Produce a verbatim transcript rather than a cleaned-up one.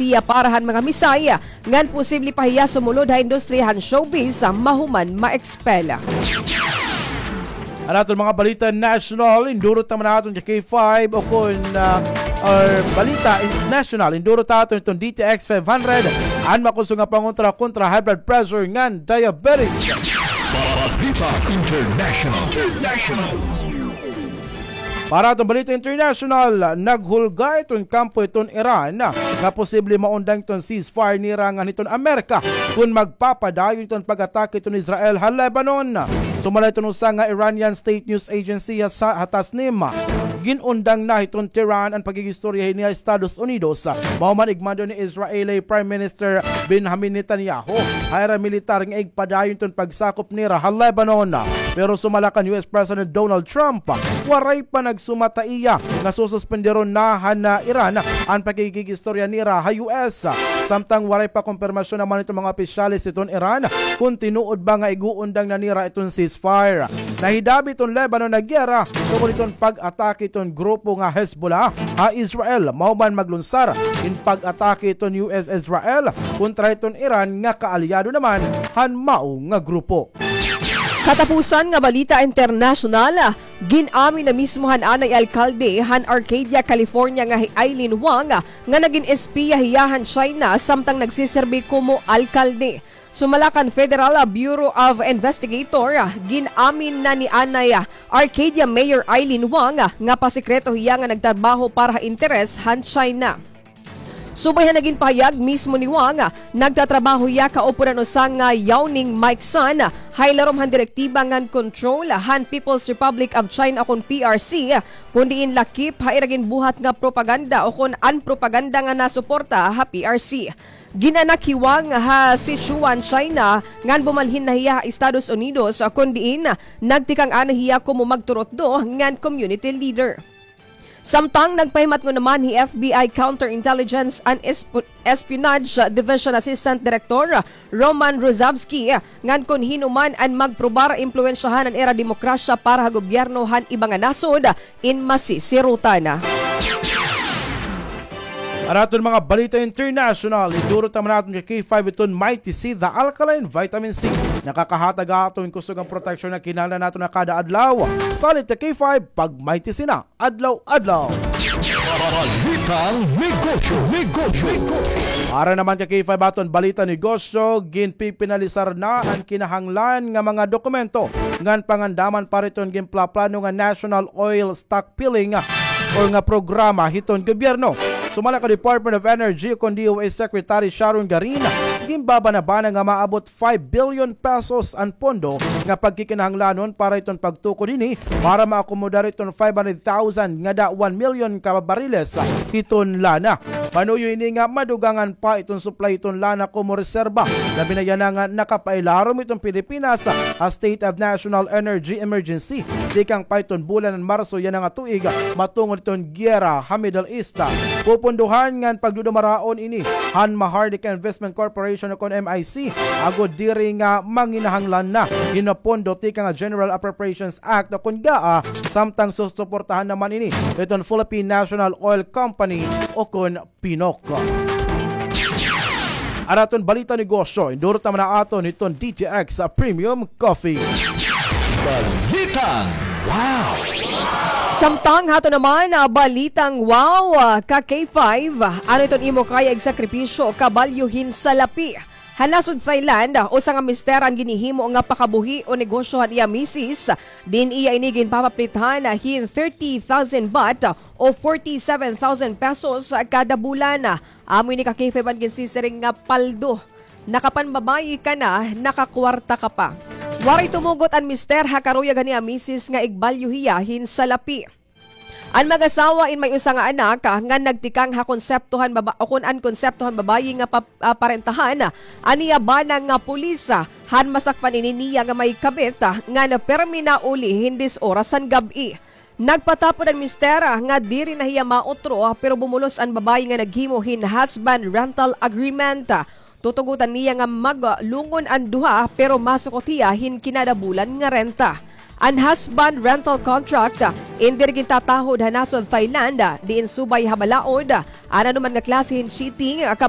iya para han mga misay, ngan posible pa hiya sumulod ha industriya han showbiz, mahuman ma-expel. An aton mga balita national, indurot naman naton ka K five o kon, ah, or balita international, indurot naton iton D T X five hundred, an makusog nga pangontra kontra high blood pressure ngan diabetes. Balita international. International. Para aton balita international, naghulga iton kampo iton Iran nga posible maundang iton ceasefire nira ngan hiton Amerika kon magpapadayon iton pag-atake iton Israel ha Lebanon. Sumala iton usa nga Iranian state news agency ha, ha Tasnim, gin-undang na hiton Tehran an pakig-istorya hini ha Estados Unidos. Mahuman igmando ni Israeli Prime Minister Benjamin Netanyahu ha ira militar nga igpadayon iton pagsakop nira ha Lebanon. Pero sumala kan U S President Donald Trump, waray pa nagsumat ha iya nga sususpenderon na han, ah, Iran an pakikig-istorya nira ha U S. Samtang waray pa kumpirmasyon naman iton mga opisyales hiton Iran kon tinuod ba nga ig-uundang na nira iton ceasefire. Nahidabi iton Lebanon nga giyera tungod hiton pag-atake hiton grupo nga Hezbollah ha Israel, mahuman maglunsar hin pag-atake iton U S Israel kontra hiton Iran nga kaalyado naman han mao nga grupo. Katapusan nga balita internasyonal, gin-amin na mismo han anay alkalde han Arcadia, California nga hi Aileen Wang nga nagin espiya hiya han China samtang nagsiserbi komo alkalde. Sumala kan Federal Bureau of Investigator, gin-amin na ni anay Arcadia Mayor Aileen Wang nga pasikreto hiya nga nagtrabaho para ha interes han China. Subay han nagin pahayag mismo ni Wang, nagtatrabaho hiya kaupo han usa nga Yao Ning Mike Sun ha ilarom han direktiba ngan control han People's Republic of China o kon P R C, kon diin lakip ha ira ginbuhat nga propaganda o kon an propaganda nga nasuporta ha P R C. Gin-anak hi Wang ha Sichuan, China, ngan bumalhin na hiya ha Estados Unidos, kon diin nagtikang anay hiya komo magturutdo ngan community leader. Samtang nagpahimatngon naman hi F B I Counterintelligence and Esp-, Espionage Division Assistant Director Roman Ruzavsky ngan kon hin-o man an magprobar impluwensyahan an ira demokrasya para ha gobyerno han iba nga nasod, in masisirutan. An aton mga balita international, idurot naman naton ka K five iton Mighty C, the alkaline vitamin C. Nakakahatag aton kusog nga proteksyon nga kinahanglan naton ha kada adlaw. Salit ka K five, pag Mighty C na adlaw-adlaw. Balitang negosyo, negosyo, negosyo. Para naman ka K five aton balita negosyo, ginpipinalisar na an kinahanglan nga mga dokumento ngan pangandaman para hiton ginplaplano nga National Oil Stockpiling or nga programa hiton gobyerno. Sumala kan Department of Energy o kon D O E Secretary Sharon Garin, ginbabanabana nga maabot five billion pesos an pondo nga pagkikinahanglanon para hiton pagtukod hini para maakomodar hiton five hundred thousand ngada one million ka bariles hiton lana. Panuyo ini nga madugangan pa hiton supply hiton lana komo reserba, labi na yana nga nakapailarom hiton Pilipinas ha State of National Energy Emergency tikang pa hiton bulan han Marso yana nga tuig, matungod hiton giyera ha Middle East. Pupundohan ngan pagdudumaraon ini han Maharlika Investment Corporation o kon M I C, agod diri nga manginahanglan na hin pondo tikang ha General Appropriations Act o kon GAA, samtang susuportahan naman ini hiton Philippine National Oil Company o kon PNOC. An aton balita negosyo, indurot naman na aton hiton D T X Premium Coffee. Balitang wow! Samtang hato naman, ah, balitang wow, ah, ka K five, ano iton imo kaya igsakripisyo, kabalyo hin salapi? Ha nasod Thailand, usa nga mister an ginhihimo nga pakabuhi o negosyo han iya misis, diin iya ini ginpapaplithan hin thirty thousand baht o forty-seven thousand pesos kada bulan. Amo ini ka K five an ginsisiring nga paldo. Nakapanbabayi ka na, nakakwarta ka pa. Waray tumugot an mister ha karuyag han iya misis nga igbalyo hiya hin salapi. An mag-asawa in may usa nga anak, ah, nga nagtikang ha konsepto han baba-, o kon an konsepto han babayi nga pa-, ah, parentahan, ah, an iya bana nga pulis, ah, han masakpan ini niya nga may kabit, ah, nga permi nauli hin diyes oras han gab-i. Nagpatapod an mister, ah, nga diri na hiya mautro, ah, pero bumulos an babayi nga naghimo hin husband rental agreement, ah. Tutugotan niya nga maglungon an duha, pero masukot hiya hin kinada bulan nga renta. An husband rental contract, ah, in diri gintatahod ha nasod Thailand, ah, diin subay ha balaod, ah, an anoman nga klase hin cheating, ah,